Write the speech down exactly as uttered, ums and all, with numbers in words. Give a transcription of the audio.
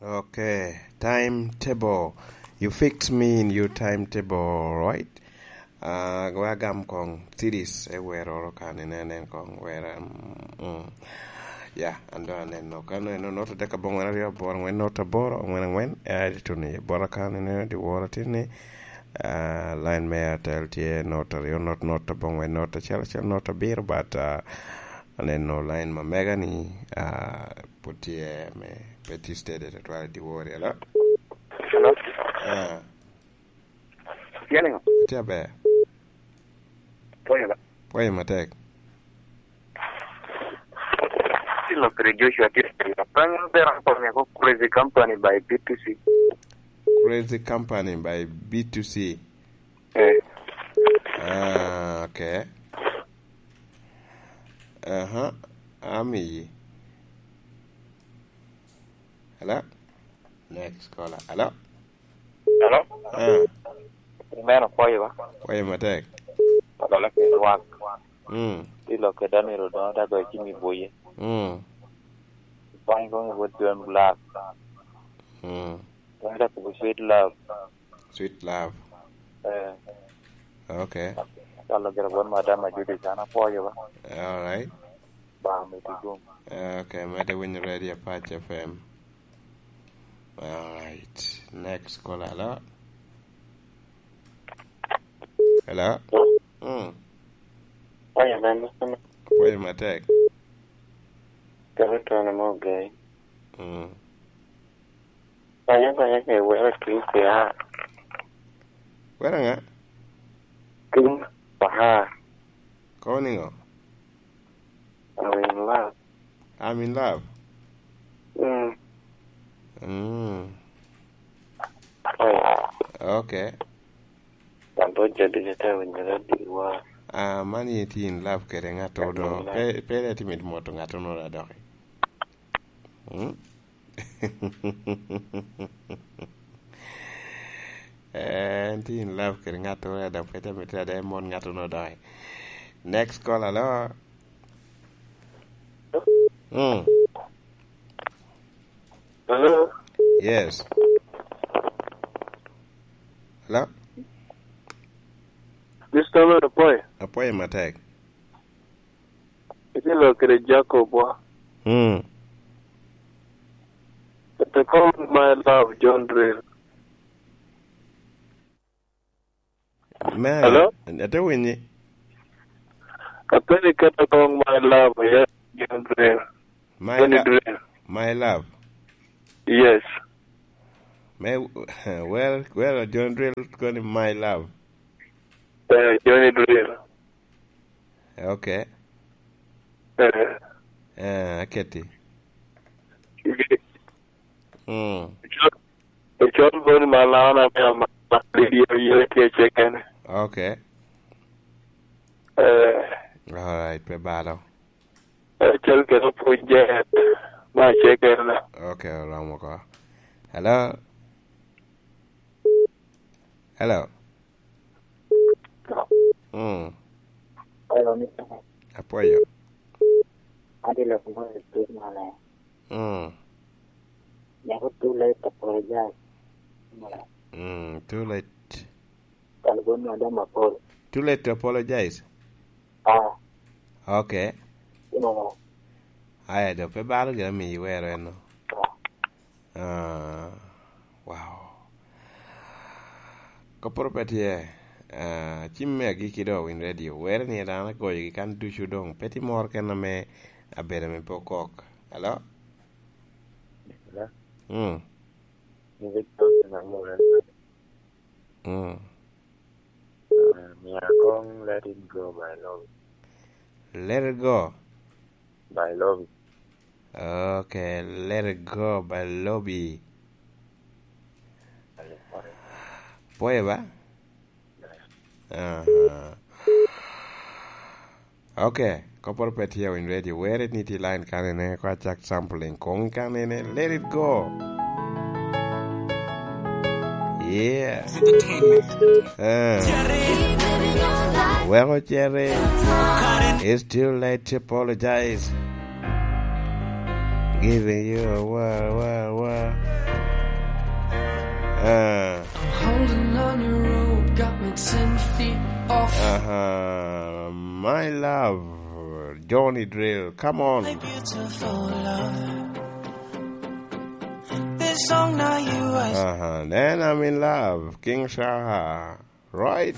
Okay, timetable. You fix me in your timetable, right? Ah, we agam kong series e wer oro kan, inen, inen kong wer, um, mm. Ya, an doŋ aneno. Kan eno, not adek aboŋwen aryo aboro angwen not aboro angwen angwen, eh, tuno i bota kan, inen, di woro tin ni, ah, line me Airtel tye not aryo not not aboŋwen not acel acel not abiro, but, ah, aneno line ma mega ni, ah, pwod tye me pe tye steady tutwal i dyewor, hello? Hello? Ah. Tye niŋo? Tye aber. Pwoyo ba. Pwoyo matek. Tye lok kede Joshua tye niŋo? Pe ŋo bera akonye ko Crazy Company by B two C. Crazy Company by B two C. Eh. Ah, okay. Aha, amiyi. Hello? Next caller. Hello? Hello? Ah. Meno pwoyo ba? Pwoyo matek. Odolo ki lwak. Mm. Tye lok kede Daniel Odongo, da goyo cim i Buye. Mm. Pwony kong i wot John Black. Mm. Kong da kubo Sweet Love. Sweet Love. Eh. Okay. Calo gira bon madam a Judith, an apwoyo ba. All right. Ba mito gum. Okay, mete winyo Radio Pac F M. All right. Next caller, hello? Hello? Mm. Oya, ben, Pwoyo matek. Kero tono mo gai. Mm. Banya, banya ke wera King Fahar. Wera ŋa? King Fahar. Kono niŋo? I'm in love. I'm in love? Mm. Mm. Oh. Okay. Wan to jadi ka te winyo radio wa. Ah, man ye tye in love kede ŋat odo. I'm in love. Pe, pe ite mit moto ŋat odo adoki. Mm? Eh, en tye in love kede ŋat odo, dok pe te mitte ada emon ŋat odo doki. Next call, hello? Mm. Hello? Yes. Hello? Mister Man, apwoyo. Apwoyo matek. Itye lok kede Jacob wa. Mm. Kete kong my love, John Drill. Me, hello? Ate winyi. Apeni kete kong my love, yes, John Drill. My John la-, Drill. My love. Yes. Me, well, well, John Drill koni my love. Eh, Johnny Drill. Okay. Eh. Eh, aketi. Icol, mm, icol, icol boni malana me ama, ma, ma, video, yo, tye cekene. Okay. Eh. All right, pe balo. Acel kede opwony jet, ma acel kede. Okay, oromo oko. Hello? Hello? Mm. Hello, mister. Apwoyo. Adi lok mo i tut mane? Mm. Nyako too late to apologize. Mm, too late. Kal bon madam apol. Too late to apologize? Ah. Okay. Ino. Aya, do pe balo gire mi iwero eno. Ah. Ah, wow. Koporo pe tye, ah, cim me agikki do Win Radio. Were ni dano agoyogi kan ducu dong. Pe ti mor ken ame abedo me pokok. Hello? Hello? Mm. Ni Victor na mo. Mm. Uh, mia kong Let It Go by Lobi. Let It Go by Lobi. Okay, Let It Go by Lobi. Pwoyo ba? Aha. Okay, koporo pe tye Win Radio. Were ni tye line kanene, ko acak sampling kong kanene. Let It Go. Yeah. Entertainment. Eh. Weko Cherry. It's too late to apologize. Giving you a what, what, what? Uh. I'm holding on your rope, got me ten feet off. Uh-huh. My love, Johnny Drill, come on. My beautiful love. This song now you are. Uh-huh. Then I'm in love, King Shah. Right.